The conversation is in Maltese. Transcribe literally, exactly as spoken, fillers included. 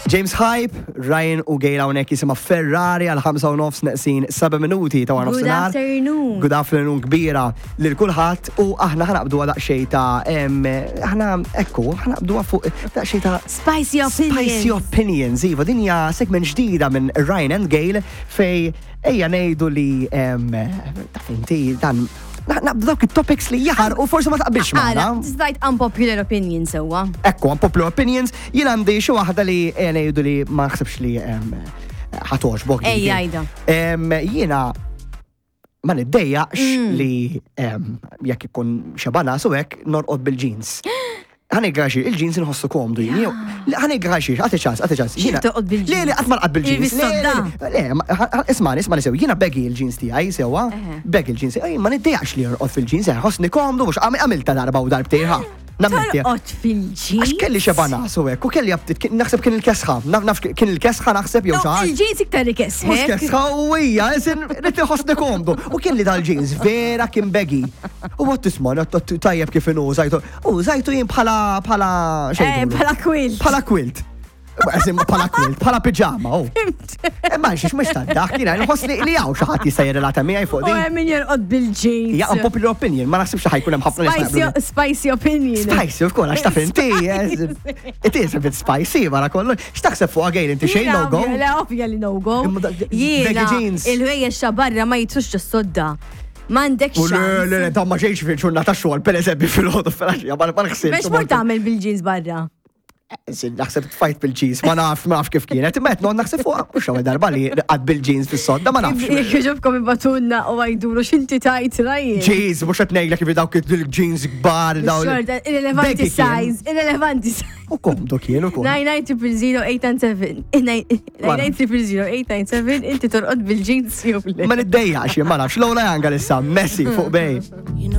James Hype, Ryan u Gail hawnhekk jisimha Ferrari għal ħamsa u nofs neqsin seba' minuti ta' wara Good nofsinhar. Afternoon. Good afternoon kbira lil kulħadd u aħna ħa naqbdu daqsxejn ta' em, aħna ekku ħa naqbdu fuq daqsxejn ta' Spicy opinions. Spicy Opinions, iva, din hija segment ġdida minn Ryan and Gail fej ejja ngħidu li em, taf inti dan na- naqbdu dawk it-topics li jaħar u forsi ma taqbilx Għara, magħna. tista' unpopular opinion sewwa. Ekku, unpopular opinions, jien għandi xi waħda li ejja ngħidu li ma naħsibx li em, ħa togħġbok. Ejja, għidha. Em, Jiena ma niddejjaqx Mm. li em, jekk ikun xebgħana su hekk norqod bil-jeans. Ħa ngħidlek, il-jeans inħossu komdu jien. Ħa ngħidlek, għati ċans, għati ċans. Xi toqgħod bil-jeans? Le, le, qatt ma nqgħad bil-jeans. Il-bis-sodda? Le, le, ma- ħa- ismani, ismani sew, jiena baggy il-jeans tiegħi sewwa, Eħe. Baggy il-jeans, ej, ma niddejjaqx li norqod fil-jeans, eh, ħossni komdu, mhux għamilta darba u darbtejn ħa. Nammetti. Torqod fil-jeans. Għax kelli xebgħana su hekk, u kelli aptit, kien- naħseb kien il-kesħa, naf naf kien il-kesħa naħseb jew No, xi ħaġa. il-jeans iktar ikesħek. Mhux kesħa u hija, isin rrid inħossni komdu. U kien li dal-jeans vera kien baggy. U għat tisma' tajjeb kif inhu żajtu. U żajtu jien bħala bħala Eh, xejn. bħala quilt. Bħala quilt. Eżim bħala quilt, bħala pijama, oh. Imma xiex mhux tad-dak, jiena nħoss li li hawn xi ħadd jista' jirrelata miegħi fuq U din. hemm min jorqod bil-jeans. Hija unpopular opinion, ma naħsibx li ħa jkun hemm ħafna nies Spicy, jaqblu. Spicy opinion. Spicy, of course, għax taf inti, yes. It is a bit spicy, wara kollu. X'taħseb fuq għajl inti xejn no go? Le, ovvja li no go. Imma dak- Jiena, baggy jeans. il-ħwejjeġ ta' barra ma jitrux ġos-sodda. M'għandek U le, le, le, xans. ta' ma xejx fil-ġurnata xogħol, per eżempju fil-ħodu fil-għaxija, ma ma nħsibx. Biex mort tagħmel bil-jeans barra? Naħseb tfajt bil-jeans, ma naf, ma naf kif kienet, imma qed naħseb fuq mhux ewwel darba li qgħadt bil-jeans fis-sodda, ma nafx. Jekk jogħġobkom ibagħtulna u għidulu x'inti tgħid, Ryan. Jeans, mhux qed ngħidlek kif dawk il-jeans kbar dawn. Xorta, irrelevanti Baggy kien. size, irrelevanti size. U komdu kien ukoll. nine nine triple zero eight nine seven. nine nine triple zero eight nine seven, inti torqod bil-jeans jew le? Ma niddejjax, ma nafx, Lola Young issa, Messi fuq Bay.